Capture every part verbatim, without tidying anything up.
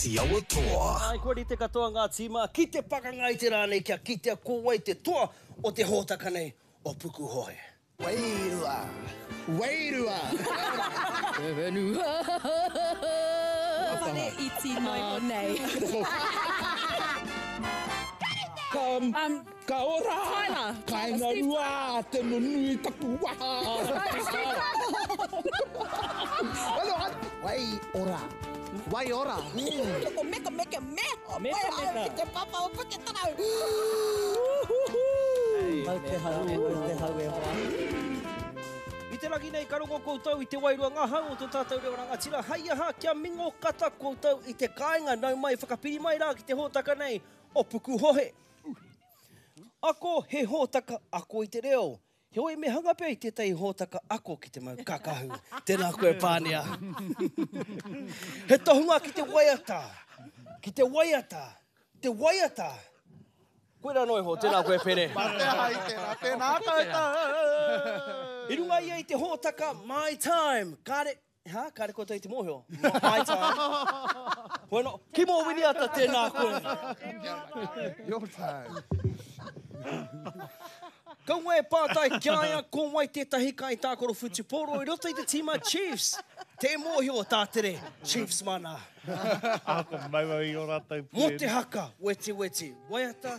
Te Awa Toa. Ai, kua rite katoa ngā tīma ki te pakanga i te rā nei kia kitea ko wai te toa o te hōtaka nei o Pukuhohe. Wairua. Wairua. Te whenua. Whare iti noi o nei. Ka, Um, ka ora. Tyler. Kainga rua, te nunui taku waha. Wai ora. Wai ora. Ko meka meka me. Meka meka. Ki te papa o Puketarau. Mau te hau, mau te hau e hoa. I te rangi nei ka rongo koutou i te wairua ngahau o tō tātou reo rangatira. Hei aha, kia mingo kata koutou i te kāinga. Nau mai, whakapiri mai rā ki te hōtaka nei o Pukuhohe. Ako he hōtaka ako i te reo. Heoi me hanga pea i tētahi hōtaka ako ki te mau kakahu. Tēnā koe Pānia. He tohunga ki te waiata. Ki te waiata. Te waiata. Koe rā noiho, tēnā koe Pere. Te hai, tēnā, tēnā koutou. I runga ia i te hōtaka My Time. Kāre, ha? Kāre koutou i te mōhio. My Time. Bueno, Kimo Winiata, tēnā koe. Your time. Kaua e pātai ki a ia ko wai tētahi kaitākaro whutupōro i roto i te tīma Chiefs. Tē mōhio tātere, Chiefs mana. Ako mau au i o rātou Mō te haka, weti weti, waiata,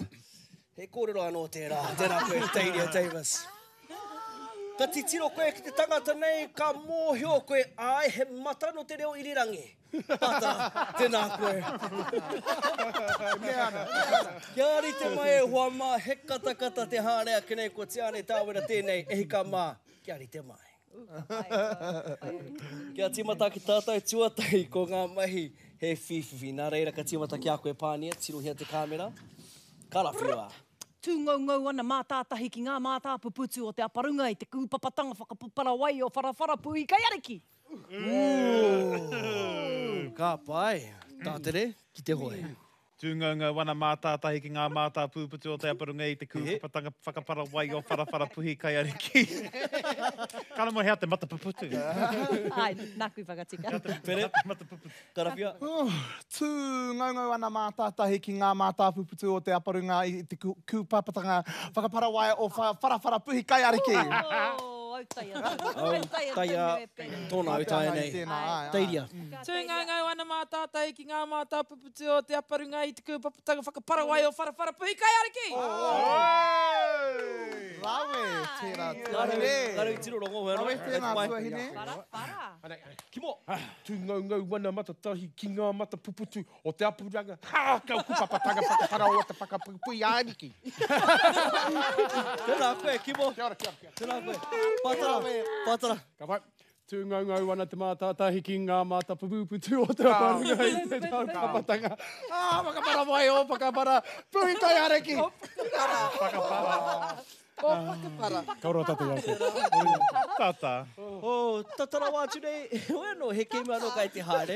he kōrero anō tērā, tērā koe, Teiria Davis. Ka titiro koe ki te tangata nei, ka mōhio koe, ai, he mata no te reo irirangi. Pata, tēnā koe. Kia rite mai e hoa mā, he katakata te haere ake nei, ko Tiane Tāwera tēnei, e hika mā, kia rite mai. Kia tīmata ki tātou tuatahi ko ngā mahi he whiwhiwhi. Nā reira ka tīmata ki a koe Pānia, tirohia te kāmera. Karawhiua. Tūngaungau ana mātātahi ki ngā mātāpuputu o te aparunga i te kūpapatanga whakapapara wai o Wharawhara Puhi Kaiariki. Ka pai, tātere ki te hoe. Tūngaungau ana mātātahi ki ngā mātāpūputu o te aparunga i te kūpapatanga whakapara wai o Wharawhara Puhi Kaiariki. Kāna mo hea te matapuputu. Ai, nāku i whakatika. Pere, Matapuputu. karawhiua. Tū ngaungau ana mātātahi ki ngā mātāpuputu o te aparunga i te kū- kūpapatanga whakapara wai o Wharawhara Puhi Kaiariki. Oh, autaia. Autaia Taia, tonu e Pere. tōna autaia nei. Tēnā, ai, ai. Teiria. Tūngaungau ana mātātahi ki ngā mātāpuputu o te aparunga i te kūpapatanga whakapara wai o Wharawhara Puhi Kaiariki. Rawe, tērā Kāre tuahine. i tiro rongo, hea Rawe no. tēnā tuahine. Whara, whara. Kimo. Tūngaungau ana matatahi ki ngā matapuputu o te apuranga. Ha, kau kupapatanga whakapara o te whakapupui āriki. Tēnā koe, Kimo. Kia ora, kia ora, kia ora. Tēnā koe. Pātara, pātara. Ka pai. Tūngaungau ana te mātātahi ki ngā mātapuputu o te aparunga i te kūpapatanga. Ah, whakapara wai o whakapara puhi kaiariki. Whakapara. O whakapara. Ka ora tātou au koe. Tata. Oh, tata rawa atu nei. Hoi anō, he kēmu anō kai te haere.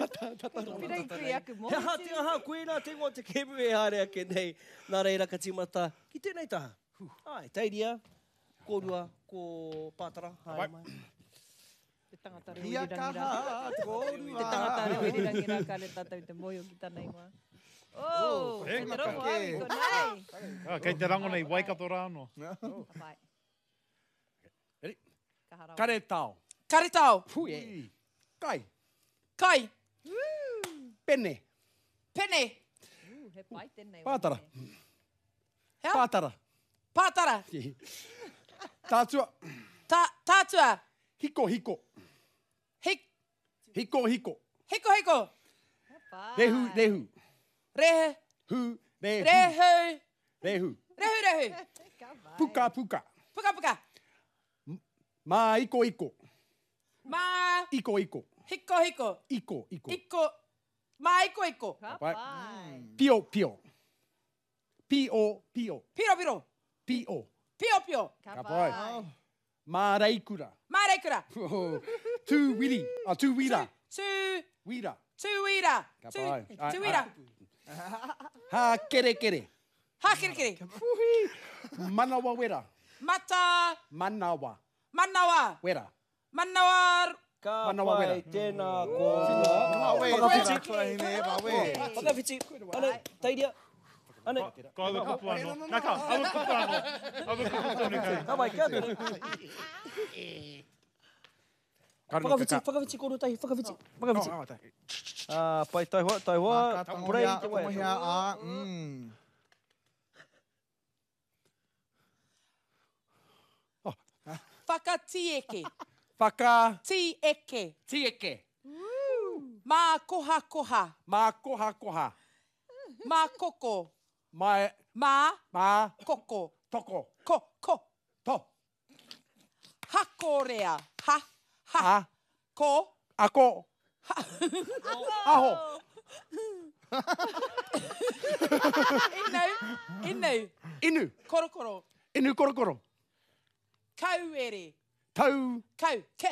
Pirei kui aku He aha te aha, koe nā te ingoa te kēmu e haere ake nei. Nā reira ka tīmata ki tēnei taha. Ai, Teiria, kōrua, ko Pātara, haere mai. Te tangata reo Kia irirangi rā. kaha, kōrua. Te tangata reo irirangi rā, kāre tātou te mōhio ki tana ingoa. Oh, He kei te rongo au i konei. Ah, kei te rango nei Waikato rā anō. Ka pai. Ready? Kaha rawa. Karetao. Karetao. Hui. Kai. Kai. Pene. Pene. Ooh, he pai tēnei. Pātara. Hea? Pātara. Pātara. Tātua. Ta, tātua. Hiko hiko. Hik, Hiko hiko. hiko hiko. Rehu rehu. Rehe. Hu rehu. Rehu. Rehu. Rehu rehu. Puka puka. Puka puka. Mā iko iko. Mā. Iko iko. Hiko hiko. Iko iko. Iko. Mā iko iko. Ka pai. pai. Pio pio. Pio pio. Piro piro. Pio. Pio pio. Ka Ka pai. pai. Mā reikura. Mā reikura. Tū wiri. Ah, tū wira. Tū. Wira. Tū wira. Ka Tū. pai. Ai, Tū wira. Hā kere kere. Hā kere kere. Manawa wera. Mata. Manawa Manawa. wera. Manawa Ka Manawa pai, wera. tēnā kōrua. Wawe, Whakawhiti. tuahine, wawe. Whakawhiti. Ane, tairia. Ane. Ko aua kupu anō. Nā ka, aua kupu anō. Aua kupu tonu kau. Ka mai, kia tonu. Whakawhiti, whakawhiti kōrua tahi, whakawhiti, whakawhiti. Ah, pai, taihoa, taihoa. Purei Tangohia, te waiata. tangohia, ā, mm. Whakatieke. Whaka. Tieke. Tieke. Mā koha koha. Mā koha koha. Mā koko. Mā. Mā. Mā. Koko. Toko. Ko. Ko. To. Hakorea. Ha. Ha. Ha. Ko. Ako. Aho. Inu. Inu. Inu. Korokoro. Inu korokoro. Kauere. Tau. Kau. Ke.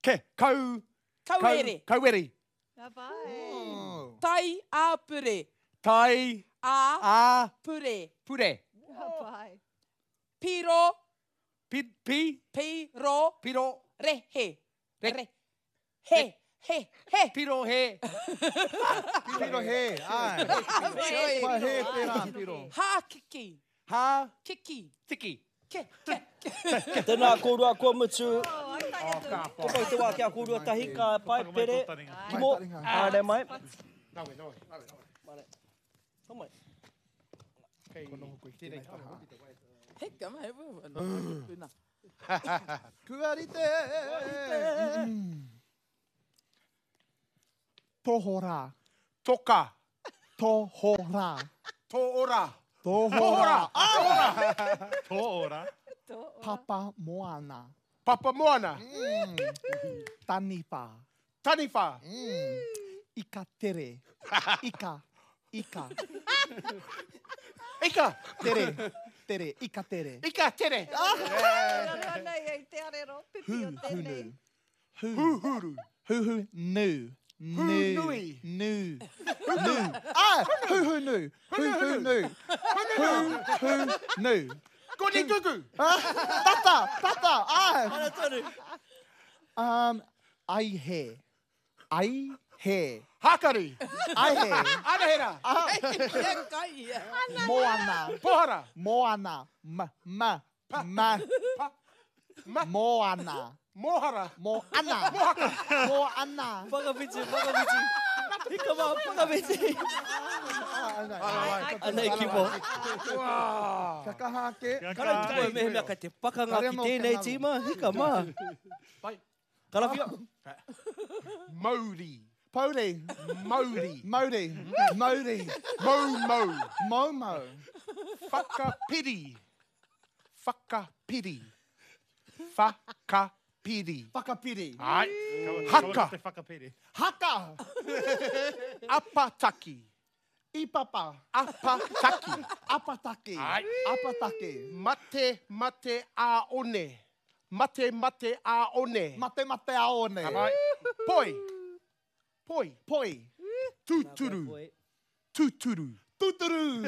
Ke. Kau. Kauere. Kau, kauere. Ka pai. Tai āpure. Tai. A. A. Pure. Pure. Ka pai. Piro. Pi. Pi. Piro. Piro. Rehe. Re. Re. He. He. He. Piro he. Piro he, ai. Kua he tērā, piro. Hākiki. Ha. Kiki. Tiki. Ke. Ke. Tēnā kōrua kua mutu. Oh, ai tai atu. Ko pai te wā kia kōrua tahi, ka pai, pere. Kimo, haere mai. Nawe, nawe, nawe, nawe. Hau mai. Heka mai. Puna. Kua rite. Tohora. Toka. Tohora. Toora. Tohora. Tō ora. Papa Moana. Papa Moana. Mm. Taniwha. Taniwha. Mm. Ika tere. Ika. Ika. Ika. Tere. Tere. Ika tere. Ika tere. Raro nei ei te arero, pipi o tēnei. Hunu. Huhuru. Huhu nu. Nu. Hunui. Nu. Nu. Ah! Huhu nu. Huhu nu. Huhu nu. Koni kuku. Ah, Tata! Tata! Ah! Ana tonu. Um, ai he. Ai he. Hakari. Ai he. Anahera. Ah, Kai ia. Moana. Pohara. Moana. Ma. Ma. Ma. Pa. Ma. Moana. Mohara. Moana. Moana. Whakawhiti, whakawhiti. Hika mā, whakawhiti. Anei, Kimo. Ka kaha ake. Karau tuku e mehemea kai te pakanga ki tēnei tīma. Hika mā. Pai. Karawhia. Mauri. Pauri. Mauri. Mauri. Mauri. Moumou. Moumou. Whakapiri. Whakapiri. Whakapiri. Whakapiri. Ai. Haka. Haka. Te whakapiri. Haka. Apataki. Ipapa. Apataki. Apataki. Ai. Apataki. Mate mate a one. Mate mate a one. Mate mate a one. Ka Poi. Poi. Poi. Tūturu. Tūturu. Tūturu.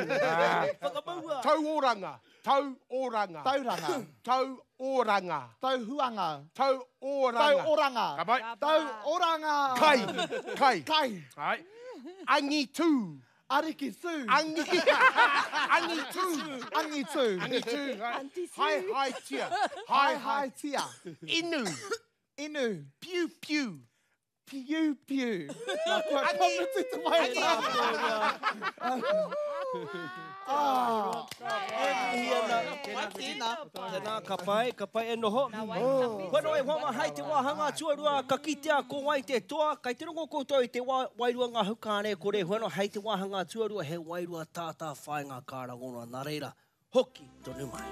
Whakamaua. Tauoranga. Tauoranga. Tauranga. Tauoranga. Tauhuanga. Tauoranga. Tauoranga. Ka pai. Tauoranga. Kai. Kai. Kai. Ai. Angitu. Ariki su. Angi. Angitu. Angitu. Angitu. Hai hai tia. Hai Hai hai hai. tia. Inu. Inu. Piu piu. Piu piu. Nā kua kamutu te mai. Ah. Tēnā, tēnā, ka pai, ka pai e noho. Kua noa e hoa hai te wāhanga tuarua, ka kitea ko wai te toa, kai te rongo koutou i te wa, wairua ngā hukāne kore, hua noa hai te wāhanga tuarua, he wairua tātā whainga kā rangona nā reira, hoki tonu mai.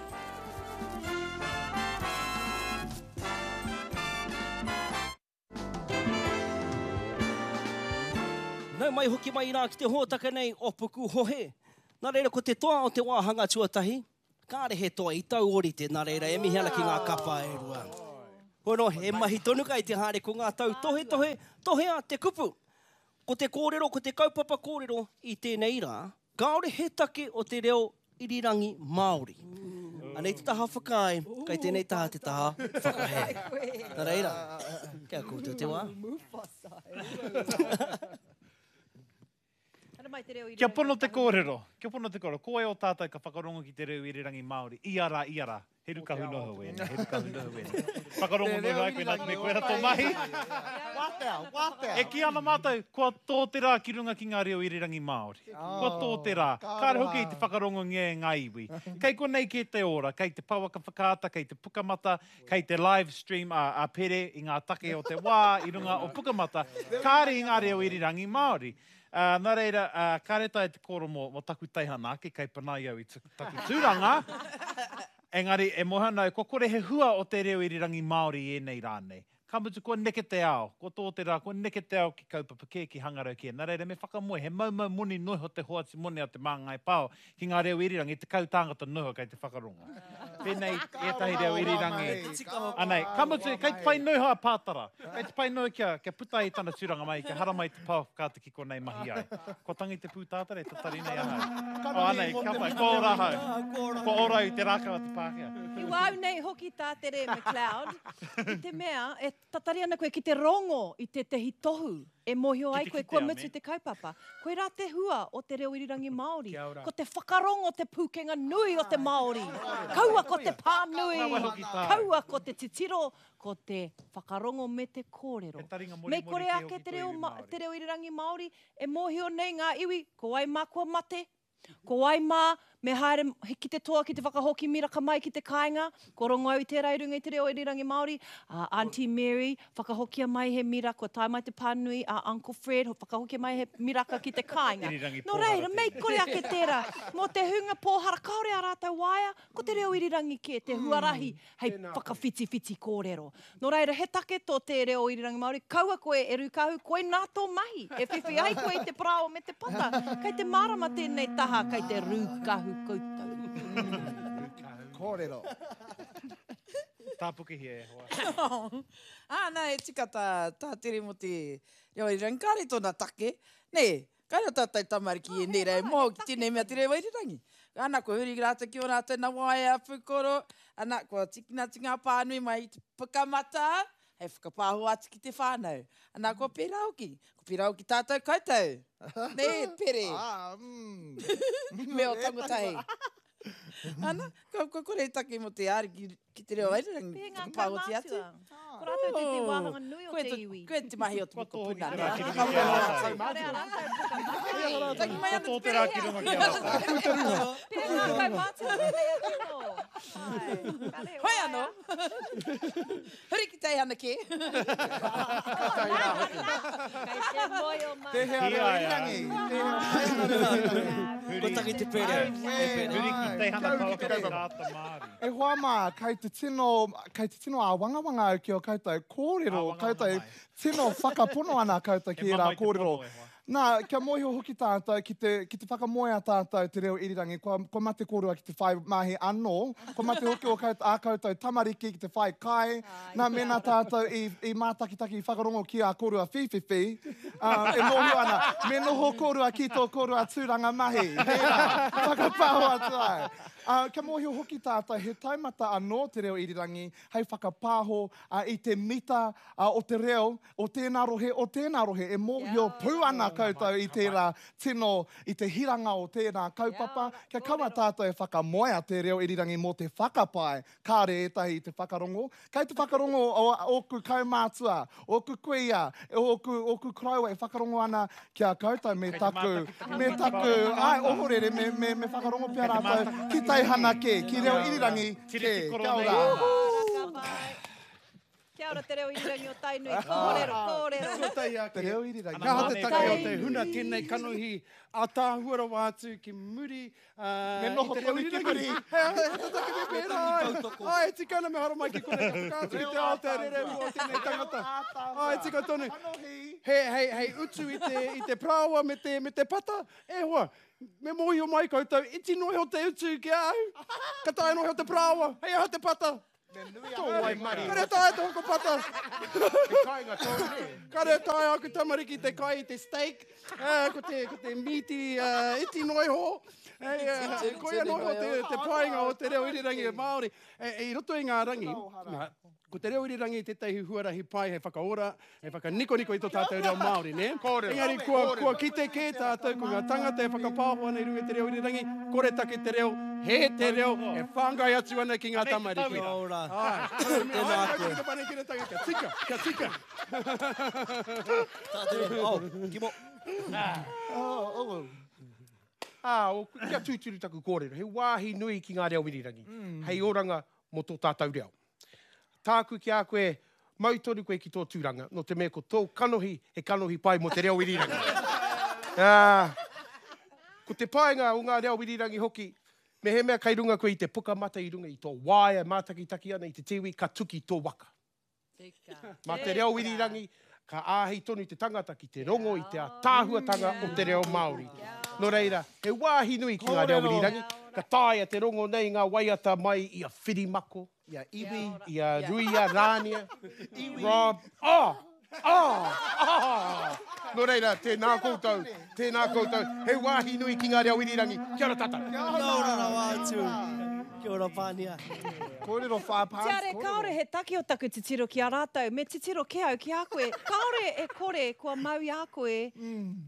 Nau mai hoki mai rā ki te hōtaka nei o Puku Hohe. Nā reira ko te toa o te wāhanga tuatahi, kāre he toa i tauorite, nā reira e mihi ana ki ngā kapa e rua. Hono, e mahi tonu kai te haere ko ngā tau tohe tohe, tohea te kupu. Ko te kōrero, ko te kaupapa kōrero i tēnei rā, kāore he take o te reo irirangi Māori. Anei te taha whakaae, kai tēnei taha te taha whakahe. Nā reira, Kia koutou te wā. Mufasa. Ana mai te reo Kia pono te kōrero, kia pono te kōrero. Ko wai o tātou ka whakarongo ki te reo irirangi Māori? Ia rā, ia rā. He rukahu noho wēnei, he rukahu noho wēnei. Whakarongo noho ai koe nā te mea koe rā tō mahi. Wātea, wātea. E kī ana mātou, kua tō te rā ki runga ki ngā reo irirangi Māori. Kua tō te rā. Kāre hoki i te whakarongongia e ngā iwi. Kei konei kē te ora, kei te pouaka whakaata, kei te pukamata, kei te live stream a, a Pere i ngā take o te wā i runga o pukamata. Kāre i ngā reo irirangi Māori. Uh, nā reira, uh, kāre tae te kōrero mō, mō taku teihana ake, kei panai au i taku tūranga. Engari, e moha nau, kua kore he hua o te reo irirangi Māori i ēnei rānei. Ka mutu, kua neke te ao, kua tō te rā, kua neke te ao ki kaupapa kē, ki hangarau kē. Nā reira, me whakamoe, he maumau moni noho te hoati moni a te māngai pao ki ngā reo irirangi, tekau tāngata noho kei te whakarongo. Pēnei ētahi reo irirangi. Anei, ka mutu, kei te pai noho a Pātara. Kei te pai noho kia, kia puta i tana tūranga mai, kia haramai te pao whakaata ki konei mahi ai. Ko tangi te pūtātara e tatari nei ahau. O, anei, ka pai, ko ora ahau. Ko ora i te rākau a te Pākehā. I wau nei hoki tā Tere McLeod, i te mea, e tatari ana koe ki te rongo i tētehi tohu e mōhio ai koe kua mutu te kaupapa. Koe rā te hua o te reo irirangi Māori. Ko te whakarongo te pūkenga nui o te Māori. Kaua ko te pānui, kaua ko te titiro, ko te whakarongo me te kōrero. Me kore ake te reo, te reo irirangi Māori e mōhio nei ngā iwi, ko ai mā kua mate, ko ai mā me haere ki te toa ki te whakahoki miraka mai ki te kāinga, ko rongo au i tērā i runga i te reo irirangi Māori, uh, Auntie Mary, whakahokia mai he mira, kua tae mai te pānui a Uncle Fred, whakahokia mai he miraka ki te kāinga. Nō reira, mei kore ake tērā, mō te hunga pōhara kāore a rātou waea, ko te reo irirangi kē, te huarahi hei whakawhitiwhiti kōrero. Nō reira, he take tō te reo irirangi Māori, kaua koe e Rukahu, koe nā tō mahi, e whiwhi ai koe i te parāoa me te pata. Kei te mārama tēnei taha, kei te rūkahu koutou. Kōrero. Tāpukehia e hoa. Ah, nā, e tika tā, tā Tere mō te reo irirangi. Kāre tōna take. Nē, kāre o tātou tamariki e nei rei mō ki tēnei mea te reo irirangi. Ana, kua huri rātou ki o rātou na waea pūkoro. Ana, kua tikina atu ngā pānui mai i te pukamata, hei whakapāho atu ki te whānau. Ana, kua pērā hoki. Kua pērā hoki tātou koutou. Nē, Pere. Ah, mm. Me o tangotahi. Ana, kua, kua kore take mō te āri ki, ki te reo irirangi. Pē ngā Whakapāhoti atu. kaumātua. Ko rātou te te wāhanga nui o Koe te te, iwi. koe te mahi o te mokopuna. Koe tō te rā ki runga ki a rātou. Tangi mai Ko ana tō te te rā ki runga ki a rātou. Pē ngā kaumātua tēnei atu. Ai, kare Hoi anō. Huri ki teihana kē. Kei te moe o mai. Te hea reo irirangi. Te hea reo irirangi. Ko tangi te pere. E pere. Huri ki teihana Kia uru ki te pouaka kaupapa. whakaata Māori. E hoa mā, kei te tino, kei te tino āwangawanga au ki o koutou kōrero, Āwangawanga koutou mai. tino whakapono ana koutou ki He ērā mamae te kōrero. pono e hoa. Nā, kia mōhio hoki tātou ki te, ki te whakamoea tātou te reo irirangi, kua, kua mate kōrua ki te whai mahi anō, kua mate hoki o koutou, ā koutou tamariki ki te whai kai, nā mēnā tātou i, i mātakitaki i whakarongo ki a kōrua whīwhiwhi, uh, e mōhio ana, me noho kōrua ki tō kōrua tūranga mahi, tērā, whakapāho atu ai. Uh, kia mōhio hoki tātou, he taumata anō te reo irirangi, hei whakapāho uh, i te mita uh, o te reo, o tēnā rohe, o tēnā rohe, e mōhio pū ana koutou i tērā tino, i te hiranga o tērā kaupapa, kia kaua tātou e whakamoea te reo irirangi mō te whakapae, kāre ētahi i te whakarongo. Kei te whakarongo o ōku kaumātua, ōku kuia, ōku, ōku koroua e whakarongo ana ki a koutou me Kei te taku, mātakitaki me te taku, ai, ohorere, me, me, me whakarongo pea rātou ki teihana kē, ki reo irirangi kē. Tiriti Kia koro ora. nei. Ka pai. Kia ora te reo irirangi o Tainui. Kōrero, kōrero. Tuatahi ake. Te reo irirangi. Ka aha te take o te Tainui. huna tēnei kanohi ātaahua rawa atu ki muri uh, Me noho i te reo tonu ki irirangi. muri. He aha te take me pērā ai. Ai, tika ana me haramai ki konei ka whakaatu i te ao te rerehua o tēnei tangata. Ai, tika tonu. He, hei, hei utu i te, i te parāoa me te, me te pata. E hoa, me mōhio mai koutou, iti noa iho te utu ki a au. Ka taea noa iho te parāoa, hei aha te pata. Tō waimarie. Kare taea te hoko pata. He kāinga tōu, nē? Kare taea aku tamariki te kai i te steak, uh, ko te, ko te mīti uh, iti noa iho. Hey, uh, koia noa iho te, te painga o te reo irirangi Māori. E, e, i roto i ngā rangi, nā, ko te reo irirangi tētahi huarahi pai hei whakaora, hei whakanikoniko i tō tātou reo Māori, nē? Kōrero. Engari kua, kua kite kē tātou ko ngā tangata e whakapāho ana i runga i te reo irirangi, koretake te reo, he te reo, e whāngai atu ana ki ngā tamariki. Kia ora. Ai. Tēnā koe. Kia tika, kia tika. Tātere, oh, Kimo. Oh, oh. Ah, o, kia tūturu taku kōrero. He wāhi nui ki ngā reo irirangi. Hei oranga mō tō tātou reo. Tāku ki a koe, mau tonu koe ki tō tūranga, nō te mea ko tō kanohi, he kanohi pai mō te reo irirangi. Ah, ko te painga o ngā reo irirangi hoki, me he mea kei runga koe i te pukamata i runga i tō waea mātakitaki ana i te tiwi, ka tuki tō waka. Mā te reo irirangi, ka āhei tonu te tangata ki te rongo i te ātaahuatanga o te reo Māori. Nō reira, he wāhi nui ki ngā reo irirangi, ka taea te rongo nei ngā waiata mai i a Whirimako, i a Iwi, i a Ruia, Rānia, Rob, oh, oh, oh. Nō reira, tēnā koutou, tēnā koutou, he wāhi nui ki ngā reo irirangi. Kia ora tātou. Kia ora rawa atu. Kia ora Pānia. Kōrero whāpāns, Tiare, kāore he take o taku titiro ki a rātou, me titiro ke au ki a koe. Kāore e kore kua mau i a koe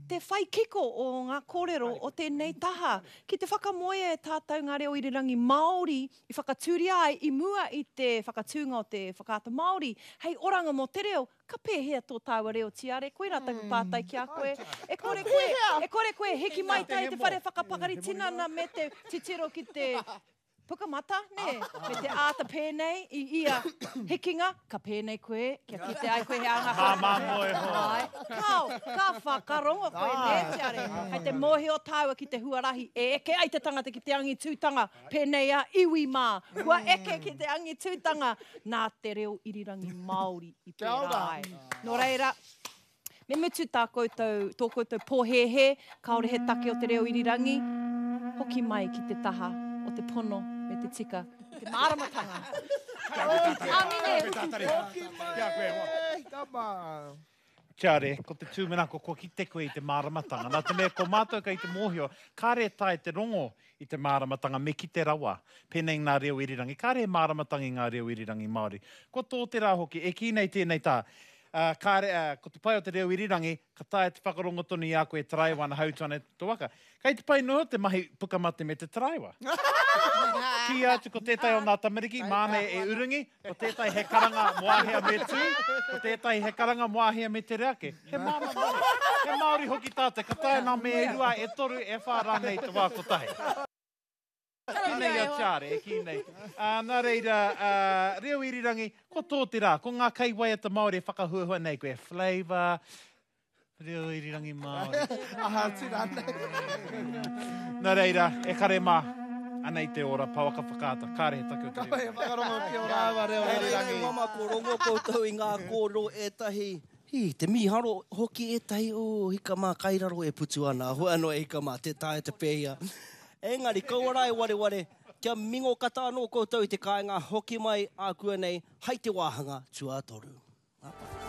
te whai kiko o ngā kōrero o tēnei taha. Ki te whakamoea e tātou ngā reo irirangi Māori i whakatūria ai i mua i te whakatūnga o te Whakaata Māori, hei oranga mō te reo, ka pēhea tō tāua reo tiare, koirā taku pātai ki a koe. E kore koe, e kore koe hiki mai tai te whare whakapakari tinana me te titiro ki te pukamata, nē, me te āta pēnei i ia hikinga, ka pēnei koe, kia kite ai koe he anga Māmā moe ho. Ai, kao, ka whakarongo koe, nē, tiare. Hei te mōhio tāua ki te huarahi, e eke ai te tangata ki te angitūtanga, pēnei a iwi mā, kua eke ki te angitūtanga, nā te reo irirangi Māori i pērā ai. Nō reira, me mutu tā koutou, tō koutou pōhēhē, kāore he take o te reo irirangi, hoki mai ki te taha o te pono me te tika, te māramatanga. Amine! Tiare, ko te tūmanako, kua kite koe i te māramatanga. Nā te mea, ko mātou kei te mōhio, kāre tae te rongo i te māramatanga me kite rawa, pēnei ngā reo irirangi. Kāre māramatanga i ngā reo irirangi Māori. Ko tō te rā hoki, e kī nei tēnei tā, uh, kāre, uh, ko te pai o te reo irirangi, ka taea te whakarongo tonu i a koe taraiwa ana hautu ana tō waka. Kei te pai noa te mahi pukamate me te taraiwa. Ki atu ko tētahi o ngā tamariki, māne e urungi, ko tētahi he karanga moahea me tū, ko tētahi he karanga moahea me te reake. He māma Māori. He Māori hoki tātou, ka taea nā me e rua, e toru, e whā rānei te wā kotahi. Ki nei a Tiare, e ki nei. Uh, nā reira, uh, reo irirangi, ko tō te rā, ko ngā kaiwaiata Māori e whakahuahua nei koe, Flavour, reo irirangi Māori. Aha, tira nei. Nā reira, e kare mā, anei te ora, pouaka whakaata, kāre he take o te reo. He whakarongo ki o rāua reo irirangi. Hei mama, ko rongo koutou i ngā kōrero ētahi. Hi, te mīharo hoki ētahi o hika mā kairaro e putu ana. Hoi anō e hika mā, te tae te pēhia. Engari, kaua rā e wareware, kia mingo kata anō koutou i te kāinga hoki mai ākuanei, hai te wāhanga tuatoru.